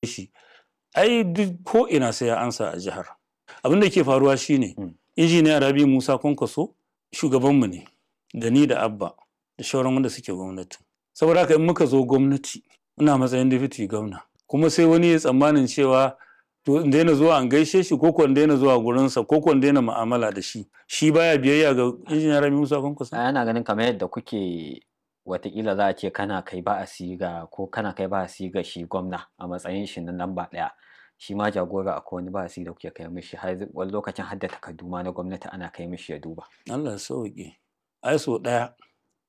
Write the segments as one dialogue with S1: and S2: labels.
S1: Shi ai duk ko ina sai ya ansa a jihar. Abin da ke faruwa shine Injiniya Rabi Musa Kwankwaso shugabanmu ne, da ni da Abba da shauran wanda suke gwamnati. Saboda haka in muka zo gwamnati, ina matsayin deputy gwamna, kuma sai wani ya tsammanin cewa to in daina zuwa an gaishe shi, ko ko in daina zuwa gurinsa, ko ko in daina mu'amala da shi. Shi baya biyayya ga Injiniya Rabi Musa Kwankwaso?
S2: Ana ganin kamar yadda kuke, watakila za a ce kana kai ba'asi ga, ko kana kai ba'asi ga shi gwamna a matsayin shi na lamba ɗaya, shi ma jagora akwai wani ba'asi da kuke kai mishi, har wani lokacin har da takardu ma na gwamnati ana kai mishi ya duba.
S1: Allah ya sauke. Ai sau ɗaya,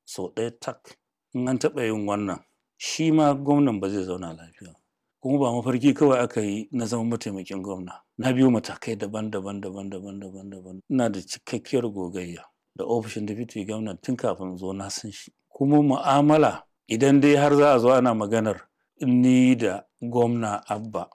S1: sau ɗaya tak, in an taɓa yin wannan, shi ma gwamnan ba zai zauna lafiya ba. Kuma ba mafarki kawai aka yi na zama mataimakin gwamna. Na biyo matakai daban-daban, daban-daban, daban-daban. Ina da cikakkiyar gogayya da ofishin deputy gwamna tun kafin zo, na san shi. Kuma mu'amala, idan dai har za a zo ana maganar ni da gwamna Abba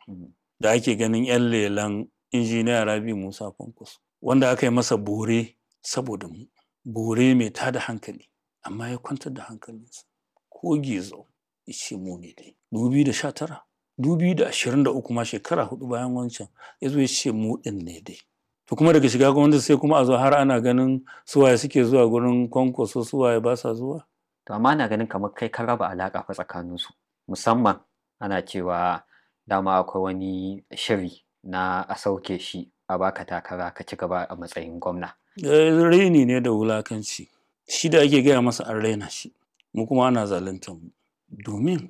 S1: da ake ganin 'yan lelan Injiniya Rabi Musa Kwankwaso, wanda aka yi masa bore saboda mu, bore mai tada hankali, amma ya kwantar da hankalinsa, ko gizo ya ce mu ne dai. 2019, 2023 ma, shekara 4 bayan wancan, ya zo ya ce mu ɗin ne dai. To kuma daga shiga gwamnati sai kuma a zo har ana ganin suwaye suke zuwa gurin Kwankwaso, suwaye ba sa zuwa.
S2: To amma ana ganin kamar kai ka raba alaƙa fa tsakaninsu, musamman ana cewa dama akwai wani shiri na a sauke shi a baka takara ka ci gaba a matsayin gwamna.
S1: Raini ne da wulakanci. Shi da ake gaya masa an raina shi, mu kuma ana zaluntar mu. Domin